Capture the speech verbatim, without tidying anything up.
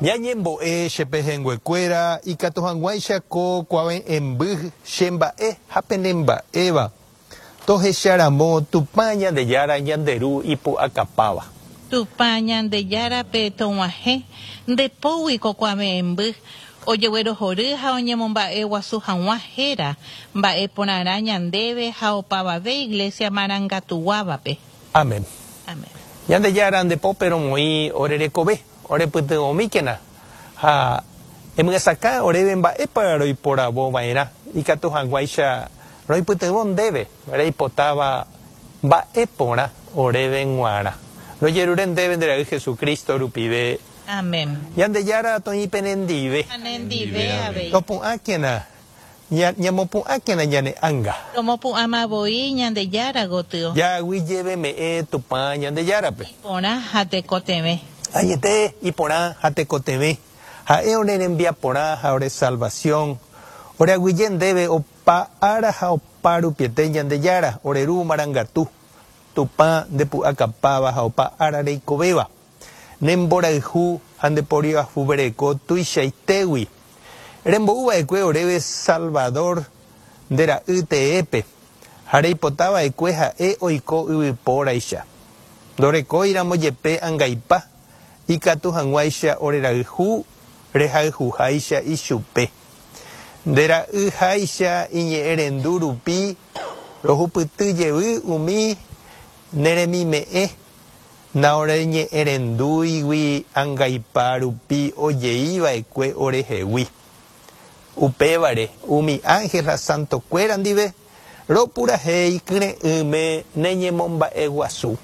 Ñañembo'e che pehẽnguekuéra ikatu hag̃uáicha ko kuave'ẽmby chemba'e ha penemba'éva tohecharamo Tupã Ñandejára ñande Ru ipu'akapáva. Tupã Ñandejárape tog̃uahẽ nde pógui ko kuave'ẽmby, ojeguerohory ha oñemomba'eguasu hag̃ua héra, mba'e porãrã ñandéve ha opavave Iglesia marangatuguávape. Amén. Amén. Ñandejára nde pópe romoĩ ore rekove, orepytyvõmíkena ha emyesakã oréve mba'épa roiporavova'erã ikatu hag̃uáicha roipytyvõ ndéve reipotáva mba'e porã oréve g̃uarã. Rojerure ndéve nde ra'y Jesucristo rupive. Amén. Ñandejára toĩ penendive. Ha nendive avei. Topu'ãkena, ña- ñamopu'ãkena ñane ánga. Romopu'ãma voi Ñandejára gotyo. Jaguyjeveme'ẽ Tupã Ñandejárape. Iporã ha tekotevẽ. Añete iporã ha tekotevẽ. Ha'e ore rembiaporã ha ore salvación. Ore aguyje ndéve opa ára ha opa rupiete Ñandejára, ore ru marangatu. Tupã ndepu'akapáva ha opa ára reikovéva. Ne mborayhu ha nde poriahuvereko tuichaitégui. Rembo'uva'ekue oréve Salvador nde ra'y teépe ha reipotava'ekue ha'e oiko yvypóraicha. Ndorekóiramo jepe angaipa ikatu hag̃uáicha orerayhu rehayhuháicha ichupe. Nde ra'yháicha iñe'ẽrendu rupi rohupyty jevy umi neremime'ẽ naoreñe'ẽrendúigui angaipa rupi ojeiva'ekue orehegui. Upévare umi ángel ha santokuéra ndive ropurahéi kyre'ỹme neñemomba'eguasu.